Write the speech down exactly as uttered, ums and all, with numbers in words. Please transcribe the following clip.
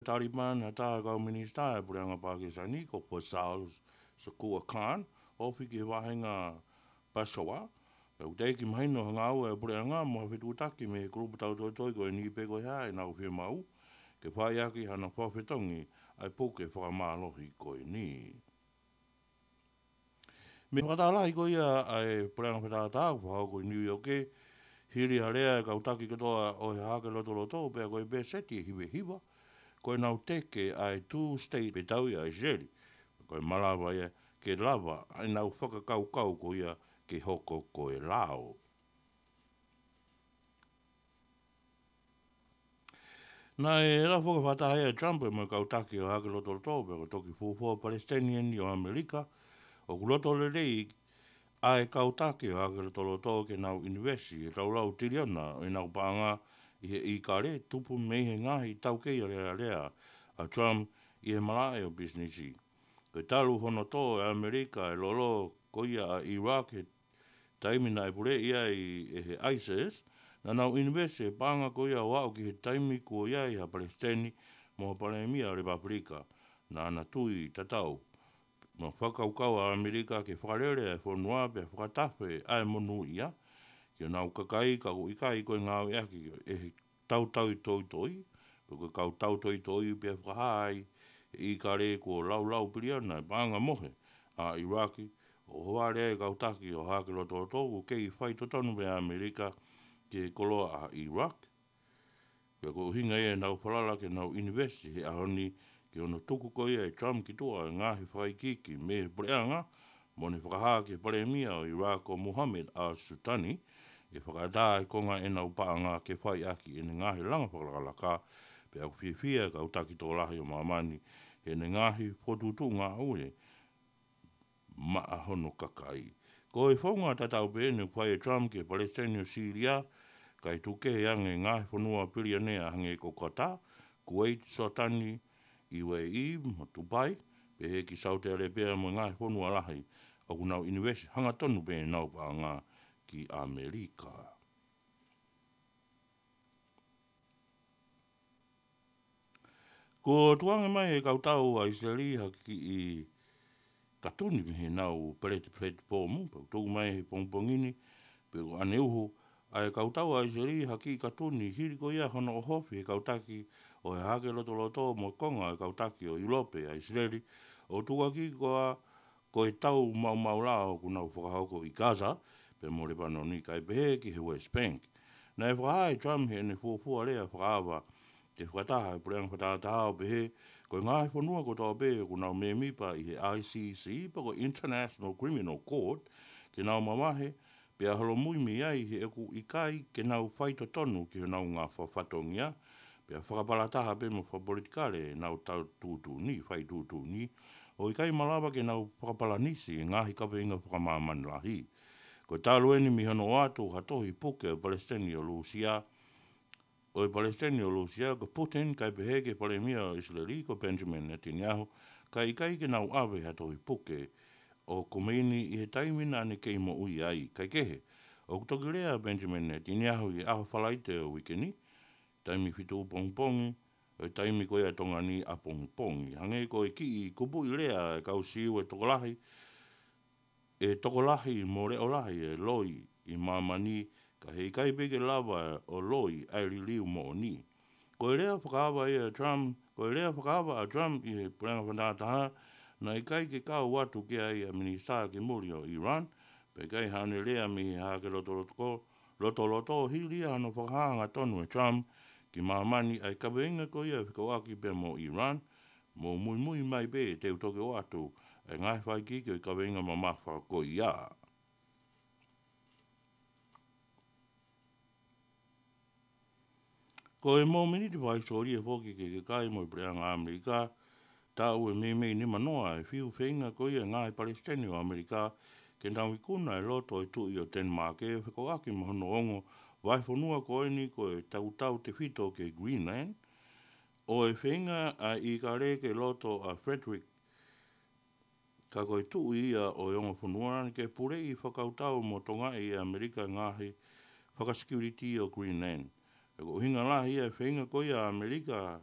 Taliban ha taha kau minisitā ʻa e puleʻanga Pākisani, ko Faisal Shakir Khan, ofi ki he vāhenga Peshawar. Pea ʻoku teʻeki mahino ha ngāue ʻa e puleʻanga mo ha fetuʻutaki mei he kulupu tautoitoi ko eni pe ko e hā ʻenau fiemaʻu ke fai ʻaki hano fakafetongi ʻa e puke fakamālohi ko eni. Mei he fakataha lahi ko ia ʻa e puleʻanga fakatātā ʻoku fakahoko ʻi New York, hili ha lea ʻa e kau taki kotoa ʻo e Hahake Lotoloto, pea ko e pēseti ʻe hivahiva ko ʻenau teke ʻa e two state pe tau ia ʻa ʻIsileli. Ko e malava ia ke lava ʻenau fakakaukau ko ia ke hoko ko e lao. Naʻe lau foki fakataha ʻa Trump mo e kau taki ʻo e Hahake Lotoloto, pea ko e toki fuofua palesiteni eni ʻo ʻAmelika ʻoku loto lelei ʻa e kau taki ʻo e Hahake Lotoloto ke nau ʻinivesi he tau lau tiliona ʻo ʻenau paʻanga ʻi he ʻīkale tupu mei he ngaahi taukei alēlea ʻa Trump ʻi he malaʻe ʻo pisinisi. Ko e talu hono tō ʻe ʻAmelika e lolo ko ia ʻa Iraq he taimi naʻe puleʻi ai ʻe he ISIS, naʻa nau ʻinivesi he paʻanga ko ia ʻo aʻu ki he taimi kuo ʻi ai ha palesiteni mo ha palēmia lepapulika naʻa na tui tatau mo fakakaukau ʻa ʻAmelika ke fakalele ʻa e fonua pea fakatafe ʻa e monūʻia ki honau kakai, ka ʻoku ʻikai ko e ngāueʻaki ʻe he tautoitoi, pe ko e kau tautoitoi pea fakahā ai ʻe ʻIkale kuo laulau piliona e paʻanga mohe ʻa ʻIlaki, ʻo ʻohovale ai e kau taki ʻo e Hahake Lotoloto ʻoku kei faitotonu pē ʻa ʻAmelika ki he koloa ʻa ʻIlaki. Pea ko e ʻuhinga ia ʻenau falala ke nau ʻinivesi he ʻaho ni ki hono tuku ko ia ʻe Trump ki tuʻa e ngaahi fakaikiiki mei he puleʻanga, mo ne fakahā ki he palēmia ʻo ʻIlaki ko Mohamed al-Sultani, ʻe fakaʻatā e konga ʻenau paʻanga ke fai ʻaki ʻene ngaahi langa fakalakalaka, pea ʻoku fiefia e kau taki tokolahi ʻo māmani heʻene ngaahi fokotuʻutuʻu ngāue maʻa hono kakai. Ko e founga tatau pē ʻeni ʻoku fai ʻe Trump ki he palesiteni ʻo Sīlia, kae tuku kehe ange e ngaahi fonua pilionea hangē ko Qatar, Kuwait, Sōtani, UAE, mo Dubai, pehē ki Saute ʻAlēpia mo e ngaahi fonua lahi ʻoku nau ʻinivesi hangatonu pē ʻenau paʻanga ki ʻAmelika. Kuo tukuange mai ʻe he kau tau ʻa ʻIsileli ha kiʻi katuni mei heʻenau plat-, platform, pea ʻoku tuku mai he pongipongi ni, pea ko ʻaneuhu ʻa e kau tau ʻa ʻIsileli ha kiʻi katuni hili ko ia hono ʻohofi ʻe he kau taki ʻo e Hahake Lotoloto mo e konga ʻo e kau taki ʻo ʻIulope ʻa ʻIsileli, ʻo tukuakiʻi ko e tau maumau lao ʻoku nau fakahoko ʻi Gaza, pea mo Lepanoni, kae pehē ki he West Bank. Naʻe fakahā ʻe Trump heʻene fuofua lea fakaava ki he fakataha ʻa e puleʻanga fakatātā ʻo pehē, ko e ngaahi fonua kotoa pē ʻoku nau mēmipa ʻi he ICC, pe ko e International Criminal Court, ke nau mavahe, pea holomui mei ai he ʻoku ʻikai ke nau faitotonu ki honau ngafa fatongia, pea fakapalataha pē mo fakapolitikale ʻenau tau tuʻutuʻuni, fai tuʻutuʻuni, ʻo ʻikai malava ke nau fakapalanisi e ngaahi kaveinga fakamāmani lahi. Ko e talu ʻeni mei hono ʻoatu ha tohi puke ʻo e palesiteni ʻo Lūsia, ʻo e palesiteni ʻo Lūsia ko Putin, kae pehē ki he palēmia ʻo ʻIsileli ko Benjamin Netanyahu, kae ʻikai ke nau ʻave ha tohi puke ʻo Khomeini ʻi he taimi naʻa ne kei moʻui ai. Kae kehe, ʻoku toki lea ʻa Benjamin Netanyahu ʻi he ʻaho Falaite ʻo e uike ni, taimi fitu pongipongi, ʻo e taimi ko ia ʻa Tonga ni ʻapongipongi. Hangē ko e kiʻi kupuʻi lea ʻa e kau Siu ʻe tokolahi, ʻe tokolahi mo leʻolahi e loi ʻi māmani, ka heʻikai pē ke lava ʻo loi ʻa e liliu moʻoni. Ko e lea fakaava ia ʻa Trump, ko e lea fakaava ʻa Trump ʻi he puleʻanga fakatātā, naʻe ʻikai ke kau atu ki ai ʻa e minisitā ki muli ʻo Iran, pea ʻikai haʻane lea mei he Hahake Lotoloto, Lotoloto hili ia hono fakahā hangatonu ʻe Trump ki māmani ʻa e kaveinga ko ia fekauʻaki pea mo Iran, mou muimui mai pē te u toki ʻoatu e ngaahi fakaikiiki ʻo e kaveinga mamafa ko ia. Ko e mōmeniti fakahisitōlia foki ki he kakai mo e puleʻanga ʻAmelika, taʻu ʻe meimei nimanoa e fiu feinga ko ia e ngaahi palesiteni ʻo ʻAmelika ke nau ikuna e loto ʻo e tuʻi ʻo Tenimāke fekauʻaki mo hono ongo vahefonua ko eni ko e tautautefito ki he Greenland, ʻo e feinga ʻa ʻIkale ke loto ʻa Frederick, ka ko e tuʻi ia ʻo e ongo fonua, ke puleʻi fakakautau mo tokangaʻi ʻe ʻAmelika e ngaahi fakasikiuliti ʻo Greenland. Pea ko e ʻuhinga lahi ia e feinga ko ia ʻa ʻAmelika